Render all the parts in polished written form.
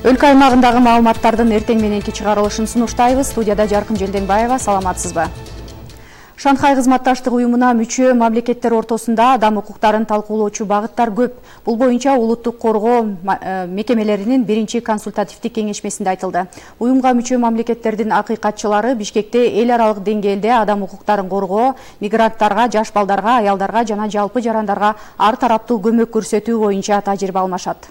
Өлкө аймагындагы маалыматтардын эртең мененки чыгарылышын сунуштайбыз. Студияда Жаркын Желденбаева, саламатсызбы? Шанхай кызматташтык уюмуна мүчө мамлекеттер ортосунда адам укуктарын талкуулоочу багыттар көп. Бул боюнча улуттук коргоо мекемелеринин биринчи консультативдик кеңешмесинде айтылды. Уюмга мүчө мамлекеттердин акыйкатчылары Бишкекте эл аралык деңгээлде адам укуктарын коргоо, мигранттарга, жаш балдарга, аялдарга жана жалпы жарандарга ар тараптуу көмөк көрсөтүү боюнча тажрыйба алмашат.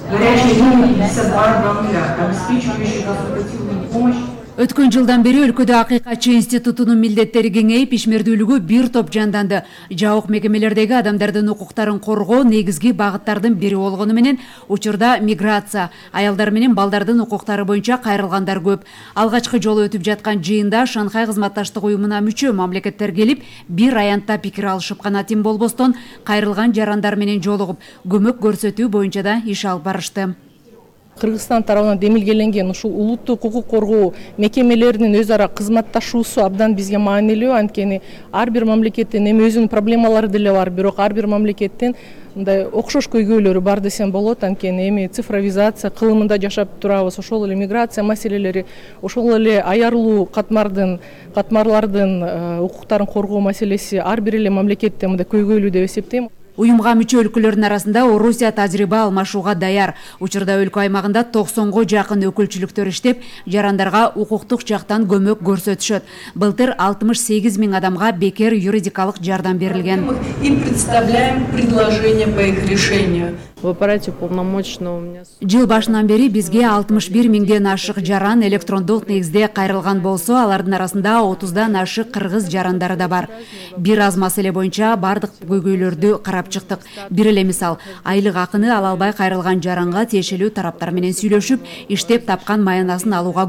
Горячие линии 52 нуля, обеспечивающие консультативную помощь. Өткөн жылдан бери өлкөдө акыйкатчы институтунун милдеттери кеңейип, ишмердүүлүгү бир топ жанданды. Жабык мекемелердеги адамдардын укуктарын коргоо негизги багыттардын бири болгону менен учурда миграция, аялдар менен балдардын укуктары боюнча кайрылгандар көп. Алгачкы жолу өтүп жаткан жыйында Шанхай кызматташтык уюмуна мүчө мамлекеттер келип, бир аянтта пикир алышып гана тим болбостон, кайрылган жарандар менен жолугуп, көмөк көрсөтүү боюнча да иш алып барышты. Кыргызстан тарабынан демилгеленген ушул улуттук укук коргоо мекемелеринин өз ара кызматташуусу абдан бизге маанилүү. Анткени ар бир мамлекеттин эми өзүнүн проблемалары деле бар, бирок ар бир мамлекеттин мындай окшош көйгөйлөрү бар десем болот. Анткени эми цифровизация кылымында жашап турабыз, ошол эле миграция маселелери, ошол эле аярлуу катмарлардын укуктарын коргоо маселеси ар бир эле мамлекетте мындай көйгөйлүү деп эсептейм. Уюмга мүчө өлкөлөрдүн арасында Орусия тажрыйба алмашууга даяр. Учурда өлкө аймагында 90го жакын өкүлчүлүктөр иштеп, жарандарга укуктук жактан көмөк көрсөтүшөт. Былтыр 68 000 адамга бекер юридикалык жардам берилген. И представляем предложение по их решению. В аппарате полномочного у меня... Жыл башынан бери бизге 61 000ден ашык жаран электрондук негизде кайрылган болсо, алардын арасында 30дан ашык кыргыз жарандары да бар. Бир аз маселе боюнча бардык көйгөйлөрдү карап чыктык. Бир эле мисал, айлык акыны ала албай кайрылган жаранга тиешелүү тараптар менен сүйлөшүп, иштеп тапкан маянасын алууга